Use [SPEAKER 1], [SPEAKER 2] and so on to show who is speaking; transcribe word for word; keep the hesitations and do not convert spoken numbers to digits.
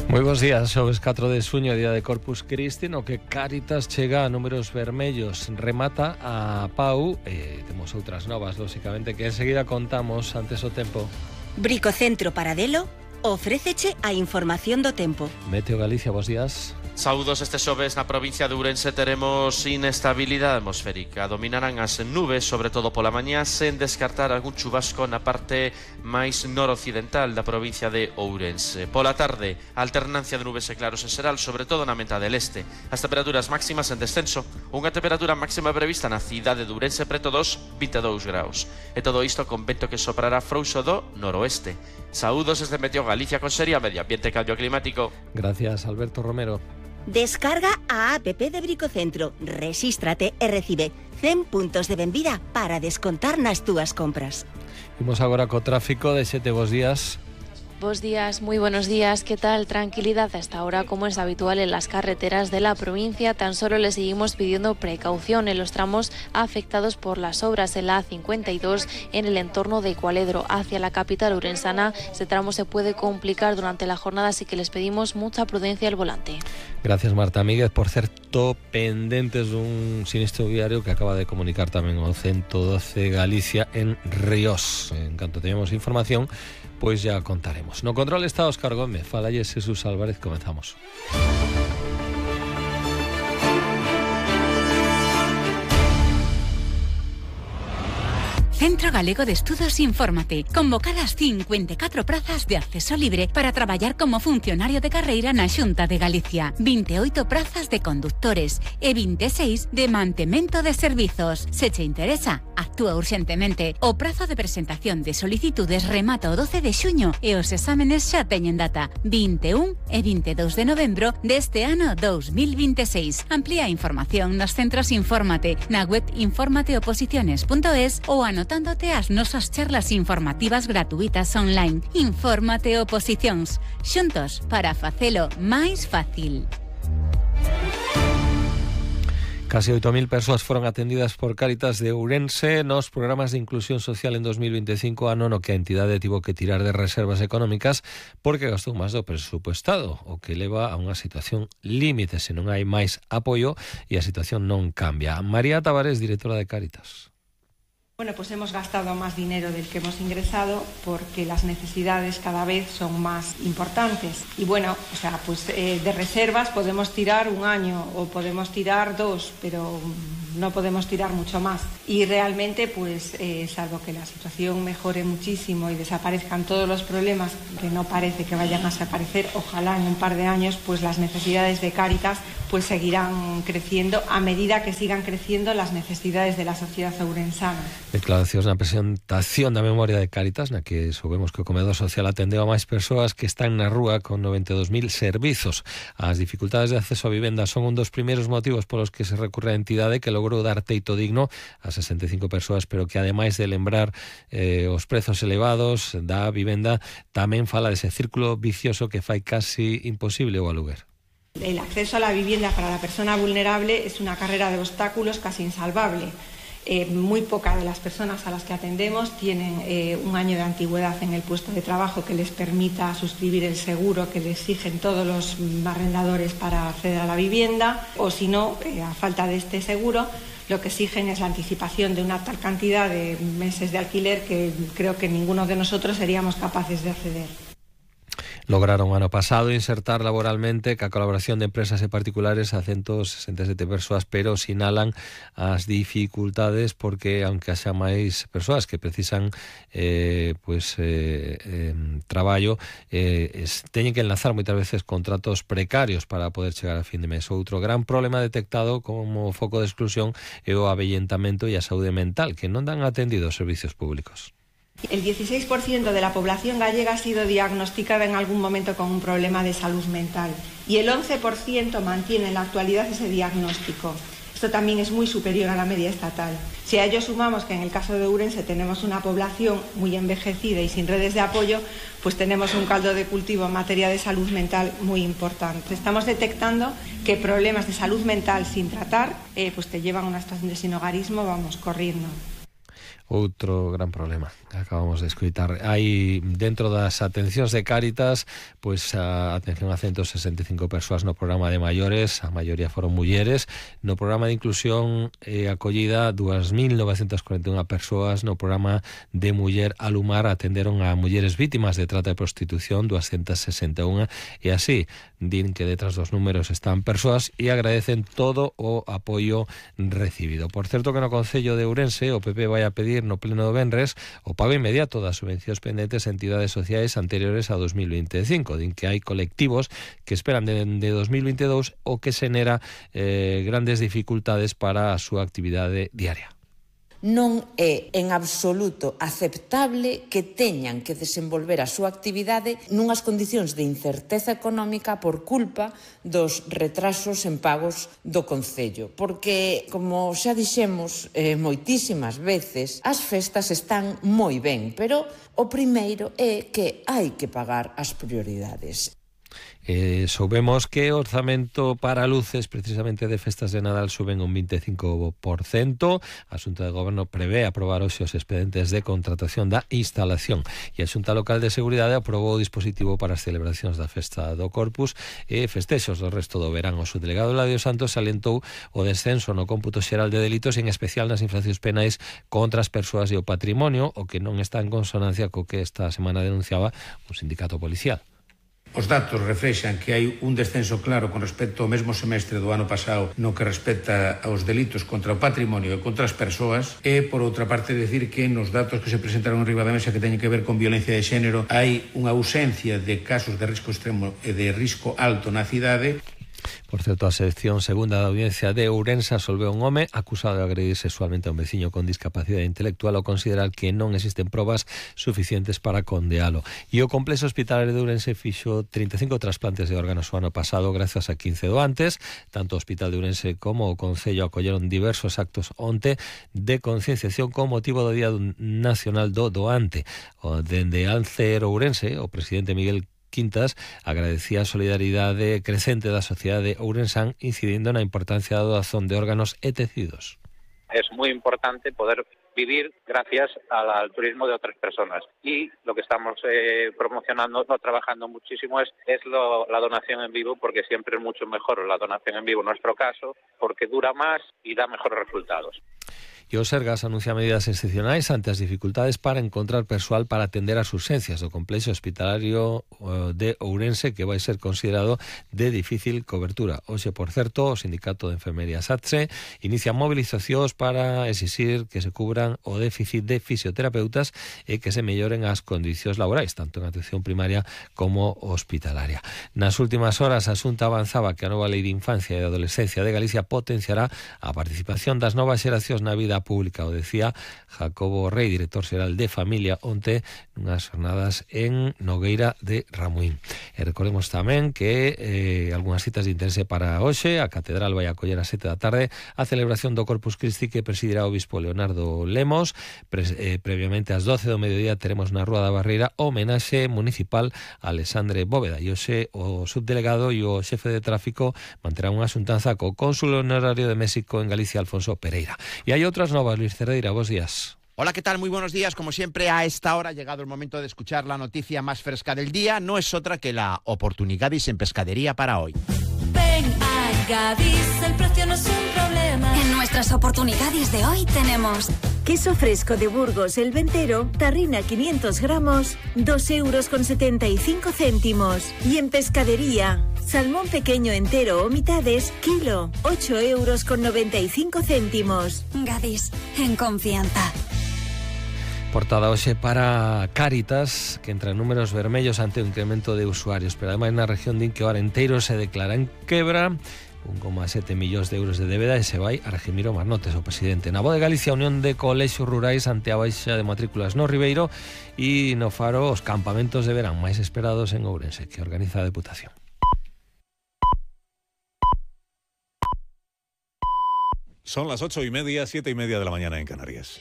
[SPEAKER 1] Moi bons días, xoves catro de xuño, día de Corpus Christi, no que Cáritas chega a números vermellos, remata a Pau, e temos outras novas, lóxicamente, que enseguida contamos antes o tempo.
[SPEAKER 2] Bricocentro Paradelo ofréceche a información do tempo.
[SPEAKER 1] Meteo Galicia, bons días.
[SPEAKER 3] Saúdos, este xoves na provincia de Ourense teremos inestabilidade atmosférica. Dominarán as nubes, sobre todo pola mañá, sen descartar algún chubasco na parte máis noroccidental da provincia de Ourense. Pola tarde, alternancia de nubes e claros en xeral, sobre todo na metade del este. As temperaturas máximas en descenso, unha temperatura máxima prevista na cidade de Ourense preto dos vinte e dous graus. E todo isto con vento que soprará frouxo do noroeste. Saúdos desde Meteo Galicia con Seria Medio Ambiente e Cambio Climático.
[SPEAKER 1] Gracias, Alberto Romero.
[SPEAKER 2] Descarga a app de Bricocentro, resístrate e recibe cen puntos de benvida para descontar nas túas compras.
[SPEAKER 1] Imos agora co tráfico de Xete, bos días.
[SPEAKER 4] Bos días, muy buenos días. ¿Qué tal? Tranquilidad hasta ahora, como es habitual en las carreteras de la provincia. Tan solo le seguimos pidiendo precaución en los tramos afectados por las obras en la A cincuenta y dos en el entorno de Cualedro hacia la capital urensana. Este tramo se puede complicar durante la jornada, así que les pedimos mucha prudencia al volante.
[SPEAKER 1] Gracias, Marta Míguez. Por certo, pendentes dun sinistro viario que acaba de comunicar tamén o ciento doce Galicia en Ríos. En canto teñamos información, pois ya contaremos. No control está Óscar Gómez, falalle Jesús Álvarez, comenzamos.
[SPEAKER 5] Centro Galego de Estudos Infórmate. Convocadas cincuenta e catro prazas de acceso libre para traballar como funcionario de carreira na Xunta de Galicia. vinte e oito prazas de conductores e vinte e seis de mantemento de servizos. Se che interesa, actúa urxentemente. O prazo de presentación de solicitudes remata o doce de xuño e os exámenes xa teñen data vinte e un e vinte e dous de novembro deste ano dous mil vinte e seis. Amplía a información nos centros Infórmate na web informateoposiciones punto es ou anotándote as nosas charlas informativas gratuitas online. Infórmate Oposicións, xuntos para facelo máis fácil.
[SPEAKER 1] Casi oito mil persoas foron atendidas por Cáritas de Ourense nos programas de inclusión social en dos mil vinte e cinco, ano no que a entidade tivo que tirar de reservas económicas porque gastou máis do presupuestado, o que leva a unha situación límite se non hai máis apoio e a situación non cambia. María Tavares, directora de Cáritas.
[SPEAKER 6] Bueno, pues hemos gastado más dinero del que hemos ingresado porque las necesidades cada vez son más importantes. Y bueno, o sea, pues eh, de reservas podemos tirar un año o podemos tirar dos, pero no podemos tirar mucho más. Y realmente, pues, eh, salvo que la situación mejore muchísimo y desaparezcan todos los problemas, que no parece que vayan a desaparecer, ojalá en un par de años, pues las necesidades de Cáritas pues seguirán creciendo a medida que sigan creciendo las necesidades de la sociedad ourensana.
[SPEAKER 1] Declaracións na presentación da memoria de Cáritas, na que soubemos que o comedor social atendeu a máis persoas que están na rúa con noventa e dous mil servizos. As dificultades de acceso a vivenda son un dos primeiros motivos polos que se recurre a entidade, que logrou dar teito digno a sesenta e cinco persoas, pero que ademais de lembrar eh, os prezos elevados da vivenda, tamén fala dese círculo vicioso que fai casi imposible o aluguer.
[SPEAKER 6] El acceso a la vivienda para la persona vulnerable es una carrera de obstáculos casi insalvable. Eh, muy pocas de las personas a las que atendemos tienen eh, un año de antigüedad en el puesto de trabajo que les permita suscribir el seguro que le exigen todos los arrendadores para acceder a la vivienda, o si no, eh, a falta de este seguro, lo que exigen es la anticipación de una tal cantidad de meses de alquiler que creo que ninguno de nosotros seríamos capaces de acceder.
[SPEAKER 1] Lograron ano pasado insertar laboralmente ca colaboración de empresas e particulares a ciento sesenta e sete persoas, pero sinalan as dificultades porque aunque haxa máis persoas que precisan eh, pues, eh, eh, traballo, eh, es, teñen que enlazar moitas veces contratos precarios para poder chegar a fin de mes. Outro gran problema detectado como foco de exclusión é o avellentamento e a saúde mental, que non dan atendido os servicios públicos.
[SPEAKER 6] El dieciséis por ciento de la población gallega ha sido diagnosticada en algún momento con un problema de salud mental y el once por ciento mantiene en la actualidad ese diagnóstico. Esto también es muy superior a la media estatal. Si a ello sumamos que en el caso de Ourense tenemos una población muy envejecida y sin redes de apoyo, pues tenemos un caldo de cultivo en materia de salud mental muy importante. Estamos detectando que problemas de salud mental sin tratar eh, pues te llevan a una situación de sinhogarismo, vamos, corriendo.
[SPEAKER 1] outro gran problema que acabamos de escoitar. Hai dentro das atencións de Cáritas, pois a atención a ciento sesenta e cinco persoas no programa de maiores, a maioría foron mulleres. No programa de inclusión e acollida, dúas mil novecentas cuarenta e unha persoas. No programa de muller Alumar atenderon a mulleres vítimas de trata e prostitución, doscientas sesenta e unha, e así din que detrás dos números están persoas e agradecen todo o apoio recibido. Por certo que no Concello de Ourense o P P vai a pedir no pleno do venres o pago inmediato das subvencións pendentes a entidades sociais anteriores a dos mil veinticinco. Din que hai colectivos que esperan de, de dos mil veintidós o que xenera eh, grandes dificultades para a súa actividade diaria.
[SPEAKER 7] Non é en absoluto aceptable que teñan que desenvolver a súa actividade nunhas condicións de incerteza económica por culpa dos retrasos en pagos do Concello. Porque, como xa dixemos eh, moitísimas veces, as festas están moi ben, pero o primeiro é que hai que pagar as prioridades.
[SPEAKER 1] Eh, soubemos que o orzamento para luces precisamente de festas de Nadal suben un veinticinco por ciento. A Xunta de Goberno prevé aprobar hoxe os expedientes de contratación da instalación e a Xunta Local de Seguridade aprobou o dispositivo para as celebracións da festa do Corpus e festexos do resto do verán. O subdelegado Eladio Santos salientou o descenso no cómputo xeral de delitos, en especial nas infraccións penais contra as persoas e o patrimonio, o que non está en consonancia co que esta semana denunciaba un sindicato policial.
[SPEAKER 8] Os datos reflexan que hai un descenso claro con respecto ao mesmo semestre do ano pasado no que respecta aos delitos contra o patrimonio e contra as persoas, e, por outra parte, decir que nos datos que se presentaron en riba da mesa que teñen que ver con violencia de xénero hai unha ausencia de casos de risco extremo e de risco alto na cidade.
[SPEAKER 1] Por certo, a sección segunda da Audiencia de Ourense absolveu un home acusado de agredir sexualmente a un veciño con discapacidade intelectual ao considerar que non existen probas suficientes para condealo. E o complexo hospitalario de Ourense fixo trinta e cinco trasplantes de órganos o ano pasado gracias a quince doantes. Tanto o Hospital de Ourense como o Concello acolleron diversos actos onte de concienciación con motivo do Día Nacional do Doante. Dende Alcer Ourense, o presidente Miguel Quintas agradecía a solidaridade crecente da sociedade ourensán, incidindo na importancia da doazón de órganos e tecidos.
[SPEAKER 9] Es muy importante poder vivir gracias al, al turismo de otras personas, y lo que estamos eh, promocionando, no, trabajando muchísimo es, es lo, la donación en vivo, porque siempre es mucho mejor la donación en vivo en nuestro caso, porque dura más y da mejores resultados.
[SPEAKER 1] E o Sergas anuncia medidas excepcionais ante as dificultades para encontrar persoal para atender as urxencias do complexo hospitalario de Ourense, que vai ser considerado de difícil cobertura. Hoxe, por certo, o Sindicato de Enfermería SATSE inicia movilizacións para exixir que se cubran o déficit de fisioterapeutas e que se melloren as condicións laborais, tanto en atención primaria como hospitalaria. Nas últimas horas, a Xunta avanzaba que a nova Lei de Infancia e Adolescencia de Galicia potenciará a participación das novas xeracións na vida pública, o decía Jacobo Rey, director xeral de Familia, onte nunhas jornadas en Nogueira de Ramuín. E recordemos tamén que eh, algunhas citas de interese para hoxe. A Catedral vai acoller a sete da tarde a celebración do Corpus Christi que presidirá o obispo Leonardo Lemos. Pre eh, previamente ás doce do mediodía teremos na Rúa da Barreira o homenaxe municipal a Alexandre Bóveda, e hoxe o subdelegado e o xefe de tráfico manterán unha xuntanza co cónsul honorario de México en Galicia, Alfonso Pereira. E hai outra novas, Luis Cerdeira, buenos días.
[SPEAKER 10] Hola, ¿qué tal? Muy buenos días. Como siempre, a esta hora ha llegado el momento de escuchar la noticia más fresca del día. No es otra que la Oportunigadis en pescadería para hoy.
[SPEAKER 11] Ven a Gadis, el precio no es un problema.
[SPEAKER 12] En nuestras Oportunidades de hoy tenemos
[SPEAKER 2] queso fresco de Burgos El Ventero, tarrina quinientos gramos, dos euros con setenta y cinco céntimos. Y en pescadería, salmón pequeño entero o mitades, kilo, ocho euros con noventa y cinco céntimos.
[SPEAKER 12] Gadis, en confianza.
[SPEAKER 1] Portada hoxe para Cáritas, que entra en números vermellos ante o incremento de usuarios, pero ademais na región din que o Arenteiro se declara en quebra, un coma sete millóns de euros de débeda, e se vai a Regimiro Marnotes, o presidente. Na Voz de Galicia, a Unión de Colexios Rurais ante a baixa de matrículas no Ribeiro, e no Faro os campamentos de verán máis esperados en Ourense, que organiza a Deputación.
[SPEAKER 13] Son las ocho y media, siete y media de la mañana en Canarias.